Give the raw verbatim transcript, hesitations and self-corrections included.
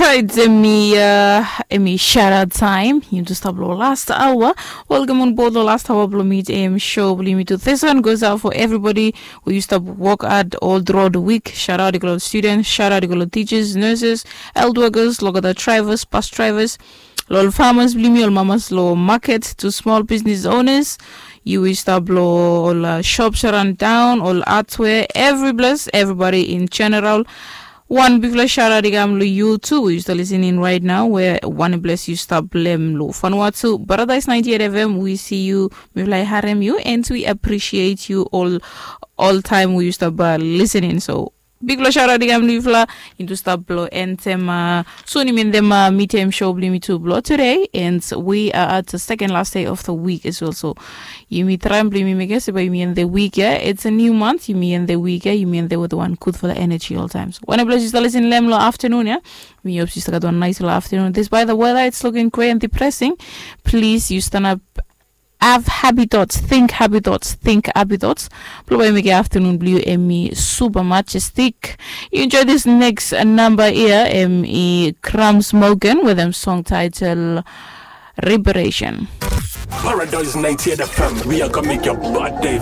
Right, emi uh, emi shout out time. Yumi tu stap lo last hour. Welcome on board lo last hour blo Meet Am show blo yumi tu. This one goes out for everybody who used to work at all throughout the week. Shout out to all students, shout out to all teachers, nurses, health workers, lo olgeta drivers, bus drivers, lo farmers blo yumi, ol mamas lo market, to small business owners. Yu i stap lo ol uh, shops around town, ol hardware, every place, everybody in general. Wan bigfala shout out i kam lo yu tu, yu stap listening right now, we wan bless yu stap blem lo Vanuatu Paradise ninety-eight F M. We see you, mifala i harem yu, and we appreciate you all, all time we stap uh, listening. So bigfala shout out i kam lo yufala. Into stap blo entem uh, soon yumi entem uh, Meet Am show blo yumi tu blo today, and we are at the second last day of the week as well. So yumi traem blo yumi mekem se bae yumi end the week, yeah? It's a new month, yumi end the week, yeah? Yumi end with one gudfala energy all time. So wan bless yu stap listening lo afternoon, yeah? Mi hope yu stap gat wan nice lo afternoon. Despite the weather, it's looking gray and depressing. Please, yu stanap, have happy thoughts, think happy thoughts, think happy thoughts. Blo bae mekem afternoon blo yu emi super majestic. You enjoy this next uh, number here, emi Crumbs Morgan with a song title Reparation. Paradise ninety-eight F M, we are gonna make your bad day.